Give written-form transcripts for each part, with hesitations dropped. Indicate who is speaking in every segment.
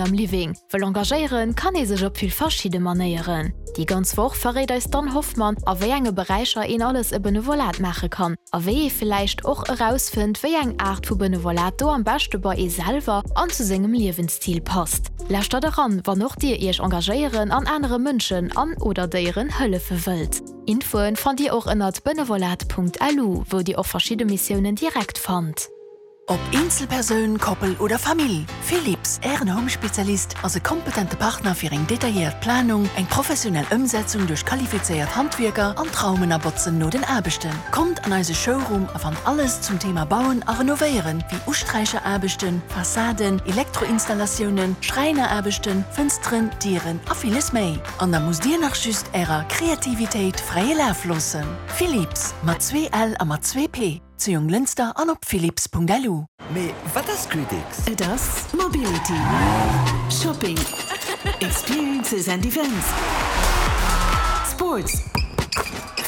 Speaker 1: Am Living. Wëll engagéieren kann ee sech op vill verschidde Manéieren. Déi ganz Woch verréit eis d'Anne Hoffmann, a wéi enge Beräicher een alles e Benevolat maache kann a wéi ee villäicht och erausfënnt, wéi eng Aart vu Benevolat do am beschte bei ee selwer an zu sengem Liewensstil passt. Lauschtert eran, wann och dir iech engagéieren an anere Mënschen an oder Déieren hëllefe wëllt. Infoen fannt dir och ënnert benevolat.lu, wou dir och verschidde Missiounen direkt fannt.
Speaker 2: Ob Eenzelpersoun, Koppel oder Famill, Philips, Ären Home-Spezialist, ass e kompetente Partner fir eng detailléiert Planung, eng professionell Ëmsetzung duerch qualifizéiert Handwierker an d'Raumen a Botzen no den Aarbechten. Kommt an eise Showroom a fannt alles zum Thema Bauen a Renovéieren, wéi Usträicheraarbechten, Fassaden, Elektroinstallatiounen, Schräineraarbechten, Fënsteren, Dieren a villes méi. An da musst Dir nach just Ärer Kreativitéit fräie Laf loossen. Philips, mat zwee L a mat zwee P. Zu Jonglënster an op philips.lu.
Speaker 3: Mee wat ass Gridx?
Speaker 2: Et ass Mobility, Shopping, Experiences and Events, Sports,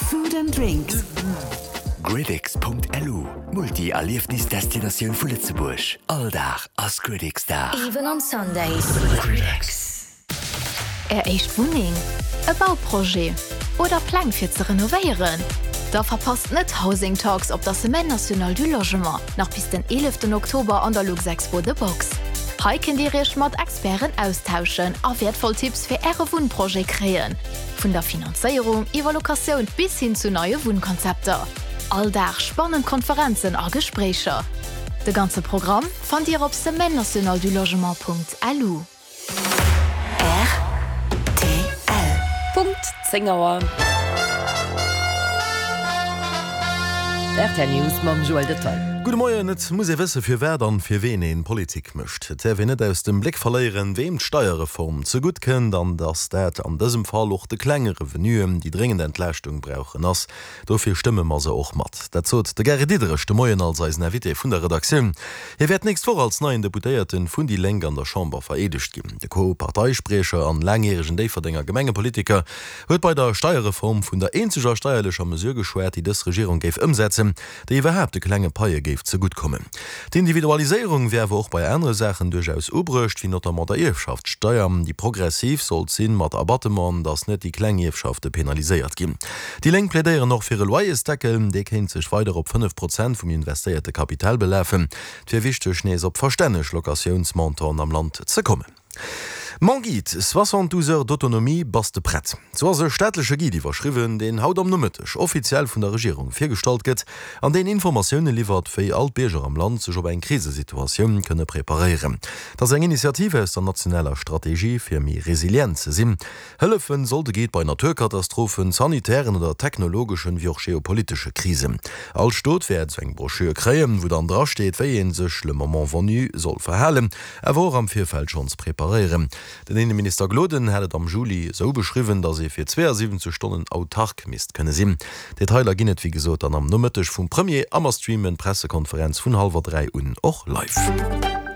Speaker 2: Food and Drinks.
Speaker 3: Gridx.lu, Multi-Erliefnis-Destinatioun vu Lëtzebuerg. All Dag ass Gridx-Dag.
Speaker 4: Even on Sundays.
Speaker 3: Gridx.
Speaker 1: Är éischt Wunneng, e Bauprojet oder Pläng fir ze renovéieren? Da verpasst net Housing Talks op der Semaine Nationale du Logement, nach bis den 11 Oktober an der Luxexpo The Box. Hei kënnt Dir Iech mat Experten austauschen a wäertvoll Tipps fir Äre Wunnprojet kréien, vun der Finanzéierung iwwer Locatioun bis hin zu neie Wunnkonzepter. All Dag spannend Konferenzen a Gespréicher. De ganze Programm fannt Dir op semaine-nationale-du-logement.lu.
Speaker 2: Rtl.
Speaker 5: Punkt 10 Auer. Rtl News mam Joël Detail.
Speaker 6: Gudde Moien, Et muss ee wësse firwat an fir ween een Politik mécht. Et däerf een net aus dem Bléck verléieren, weem d'Steierreform zegutt kënnt an datt dat an dësem Fall och de klenge Revenuen, déi dréngend Entlaaschtung brauchen, ass. Dofir stëmme mer se och mat. Dat sot de Gary Diderich de Moien als eisen Invité vun der Redaktioun. Hie wäert d'nächst Woch als neien Deputéierte vun déi Lénk an der Chamber vereedegt ginn. De Co-Parteispriecher an laangjäregen Déifferdenger Gemengepolitiker huet bei der Steierreform vun der eenzeger steierlecher Mesure geschwat, déi dës Regierung géif ëmsetzen, déi iwwerhaapt de klenge Paie géif zegutt kommen. D'Individualiséierung wier awer och bei anere Saachen duerchaus ubruecht, wéi notamment der Ierfschaftssteier, déi progressiv sollt sinn, mat Abattement, datt net déi kleng Ierfschafte penaliséiert ginn. Déi Lénk plädéieren och fir e Loyersdeckel, dee kéint sech weider op 5 Prozent vum investéierte Kapital belafen. Et wier wichteg, nees op verstänneg Locatiounsmontanten am Land ze kommen. Mon guide, 72 heures d'autonomie, bass de prett? Sou ass e staatleche Guide iwwerschriwwen, deen haut am Nomëtteg offiziell vun der Regierung virgestallt gëtt an deen Informatioune liwwert, wéi all d'Bierger am Land sech op eng Krisesituatioun kënne preparéieren. Et ass eng Initiativ aus der nationaler Strategie, fir méi resilient ze sinn. Hëllefen soll de Guide bei Naturkatastrophen, sanitären oder technologeschen, wéi och geopolitesche Krisen. All Stot wäert esou eng Broschür kréien, wou dann drasteet, wéi ee sech le moment venu soll verhalen, awer och am Virfeld schonns preparéieren. Den Inneminister Gloden hat et am Juli esou beschriwwen, datt ee fir 72 Stonnen autark misst kënne sinn. Detailer ginn et wéi gesot dann am Nomëtteg vum Premier a mer streamen d'Pressekonferenz vun hallwer 3 un och live.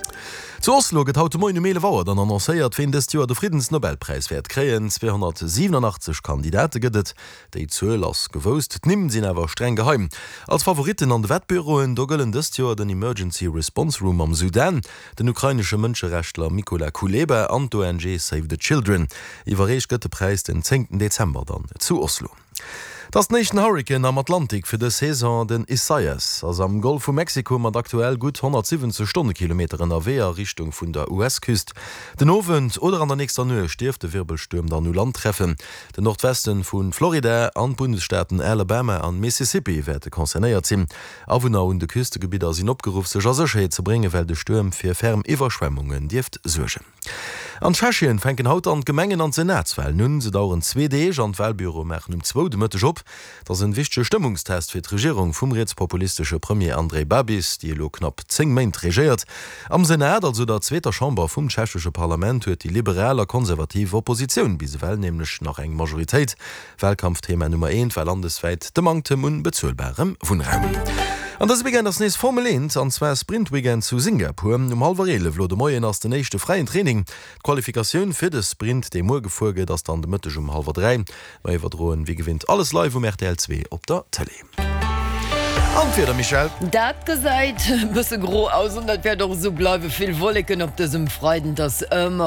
Speaker 6: Zu Oslo gëtt haut de Moien um 11 Auer dann annoncéiert, ween dëst Joer de Friddensnobelpräis wäert kréien. 287 Kandidate gëtt et, déi Zuel ass gewousst, d'Nimm sinn awer streng geheim. Als Favoritten an de Wettbüroen, do gëllen dëst Joer den Emergency Response Room am Sudan, den ukrainesche Mënscherechtler Mykola Kuleba an d'ONG Save the Children. Iwwerreecht gëtt de Präis den zéngten Dezember dann zu Oslo. Et ass den éischten Hurrikan am Atlantik fir dës Saison. Den Isaias ass am Golf vu Mexiko mat aktuell gutt 170 Stonnekilometer ënnerwee a Richtung vun der US-Küst. Den Owend oder an der nächster Nuecht dierft de Wirbelstuerm dann u Land treffen. Den Nordweste vu Florida an d'Bundesstaaten Alabama an Mississippi wäerte concernéiert sinn. Awunner un de Küstegebidder sinn opgeruff, sech a Sécherheet ze bréngen, well de Stuerm fir ferm Iwwerschwemmungen dierft suergen. An Tschechien fänken haut dann d'Gemengen an d'Senatswalen un. Se daueren zwee Deeg an d'Walbüroe maachen um zwou de Mëtteg op. Et ass en wichtege Stëmmungstest fir d'Regierung vum rietspopulistesche Premier Andrej Babis, déi elo knapp 10 Méint regéiert. Am Senat, also der zweeter Chamber vum tschechesche Parlament, huet déi liberal a konservativ Oppositioun bis ewell nämlech nach eng Majoritéit. Walkampfthema Nummer eent war landeswäit de Manktem un bezuelbarem Wunnraum. An dëse Weekend ass nees Formel 1, an zwar Sprint-Weekend zu Singapur. Um hallwer 11 lo de Moien ass den éischte fräien Training. D'Qualifikatioun fir de Sprint, dee muer gefuer gëtt, ass dann de Mëtteg um hallwer 3. Mer iwwerdroen wéi gewinnt alles live um rtl 2 op der Tëlee. An d'Wieder, Michèle?
Speaker 5: Dat gesäit e bësse gro aus an dat wäert och esou bleiwen. Vill Wolleken op dësem Freiden, et ass ëmmer.